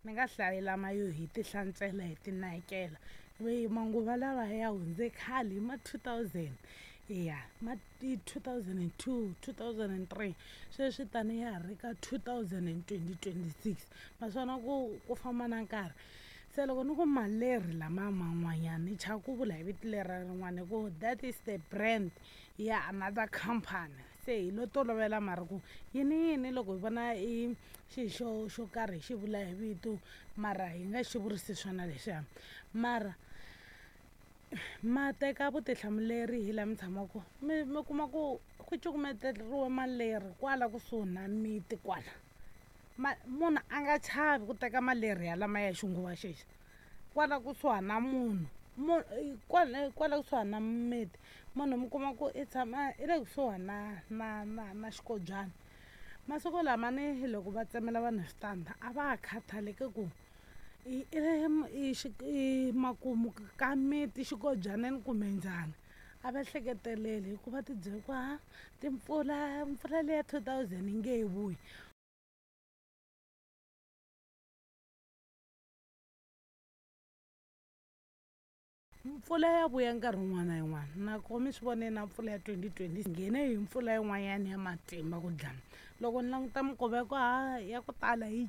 Ni nga hlayi lama yo hi ti hlantswela hi ti nakekela manguva lawa ya hundze khale hi ma 2000 ya ma 2002, 2003 sweswi taniya ha ri ka 2026 naswona ku famba na nkarhi. Se loko ni ku malerhi lamaya man'wanyana ni chava ku vula hi vito leriya rin'wana hi ku that is the brand ya another company. Se hi lo tolovela mara ku yini yini loko hi vona i xi xo karhi hi xi vula hi vito mara hi nga xi vurisi swona leswiya. Mara ma teka vutihlamuleri hi la mi tshamaka mi kuma ku ku cukumeteriwe malerhi kwala kusuhi na miti kwala. Ma munhu a nga chavi ku teka malerhi ya lamaya ya xinguva xexi kwala kusuhani na munhu kwala kwala kusuhani na miti. Munhu mi kuma ku i tshama i le kusuhani na xikobyana. Masiku lama ni loko va tsemela vanhu switandi a va ha khathaleki ku i i i makumu ka miti xikobyaneni kumbe njhani. A va hleketeleli hikuva ti byele ku ha timpfula mpfula leya 2000 yi nge he vuyi. Mpfula ya vuya nkarhi wun'wana na yin'wana nako mi swi vonile na mpfula ya 2020 nghene hi mpfula yin'wanyana ya matimba ku dlaya. Loko ni languta minkova ya ku ha ya ku tala yi .